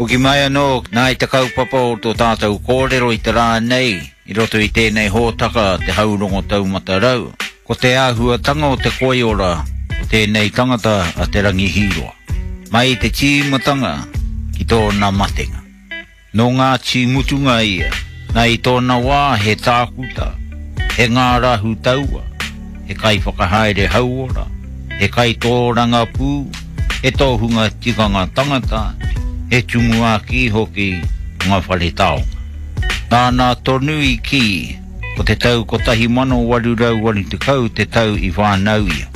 Hoki mai anō, nā i te kaupapa o tō tātou kōrero i te rā nei, i roto i tēnei hōtaka Te Haurongo Taumata Rau, ko te āhuatanga o te koiora o tēnei tangata a Te Rangi Hīroa, mai i te tīmatanga ki tōna matenga. Nō Ngāti Mutunga ia, nā i tōna wā he tākuta, he ngārahu taua, he kaiwhakahaere hauora, he kaitōrangapū, he tohunga tikanga tangata, he tumuaki hoki o ngā whare taonga. Nāna tonu i kī, ko te tau 1880 te tau i whānau ia.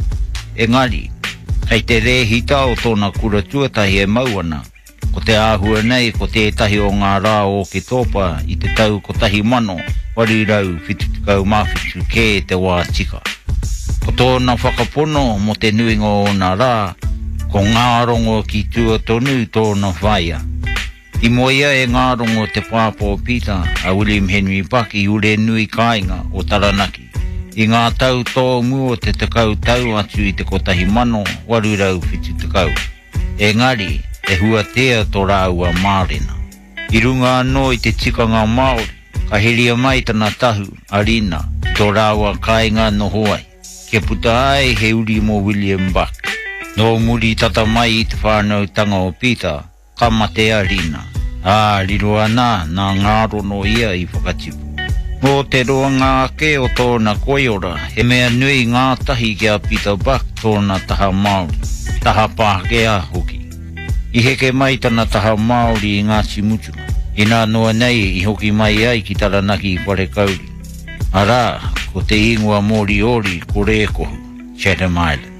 Engari, kei te rēhita o tōna kura tuatahi e mau ana, Ko te āhua nei ko tētahi o ngā rā o Oketopa i te tau 1877 kē te wā tika. Ko tōna whakapono mō te nuinga o ōna rā, ko Ngārongo ki tua tonu tōna whaea. I moea e Ngārongo te pāpā o Peter, a William Henry Buck i Urenui kāinga o Taranaki, i ngā tau tōmua o te tekau tau atu i te 1870. Engari, he huatea tō rāua mārena. I runga anō i te tikanga Māori, ka heria mai tana tahu, a Rina, ki tō rāua kāinga noho ai, kia puta ai he uri mō William Buck. Nō muri tata mai i te whānautanga o Peter, Ka mate a Rina, ā, riro ana nā Ngārono ia i whakatipu. Nō te roanga ake o tōna koiora, he mea nui ngātahi ki a Peter Buck tōna taha Māori, taha Pākehā hoki. I heke mai tana taha Māori i Ngāti Mutunga, inā noa nei i hoki mai ai ki Taranaki i Wharekauri, arā, ko te ingoa Moriori ko Rēkohu, Chatham Islands.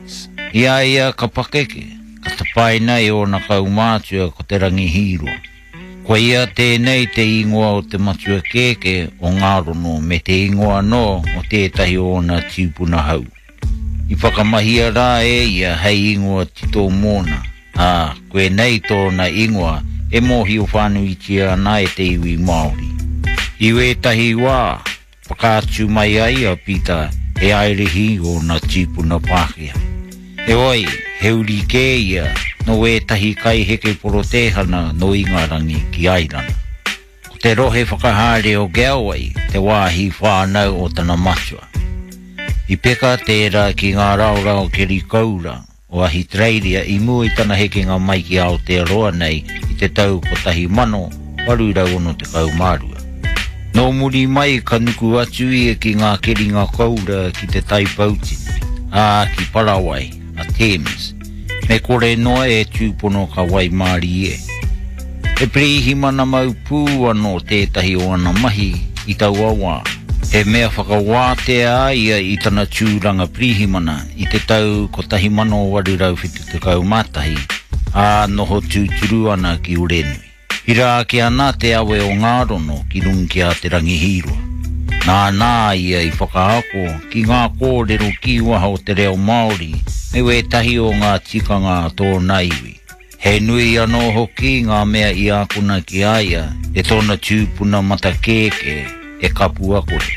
I a ia ka pakeke, Ka tapaina e ōna kaumātua ko Te Rangi Hīroa. Koia tēnei te ingoa o te matua kēkē o Ngārono me te ingoa anō o tētahi o ōna tīpuna hau. I whakamahia rā e ia hei ingoa tito mōna, ā, koinei tōna ingoa e mōhio whānuitia ana e te iwi Māori. I wētahi wā, Whakaatu mai ai a Pita he Airihi ōna tīpuna Pākehā. Heoi, he uri kē ia nō ētahi kaiheke Porotēhana nō Ingarangi ki Airana. Ko te rohe whakahaere o Galway te wāhi whānau o tana matua. I peka tērā ki ngā raorao keri koura o Ahitereiria i mua i tana hekenga mai ki Aotearoa nei i te tau 1862. Nō muri mai ka nuku atu ia ki ngā keringa koura ki Te Tai Poutini, ā, ki Parawai, a Thames, me kore noa e tūpono ka waimārie. He pirihimana mau pū anō tētahi o ana mahi i taua wā. He mea whakawātea a ia i tana tūranga pirihimana i te tau 1871, ā, noho tūturu ana ki Urenui. Hira ake ana te awe o Ngārono ki runga ki a Te Rangihīroa. Nāna a ia i whakaako ki ngā kōrero kīwaha o te reo Māori me wētahi o ngā tikanga a tōna iwi. He nui anō hoki ngā mea i ākona ki a ia e tōna tūpuna matakēkē e Kapuakore.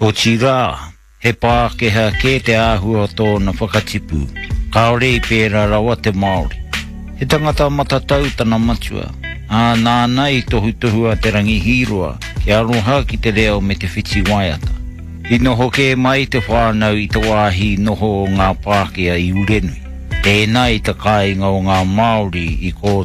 Otirā, He Pākehā kē te āhua o tōna whakatipu, kāore i pērā rawa te Māori. He tangata matatau tana matua, ā, nāna i tohutohu a Te Rangi Hīroa kia aroha ki te reo me te whiti waiata. I noho kē mai te whānau i te wāhi noho o ngā Pākehā i Urenui, tēnā i te kāinga o ngā Māori i kō.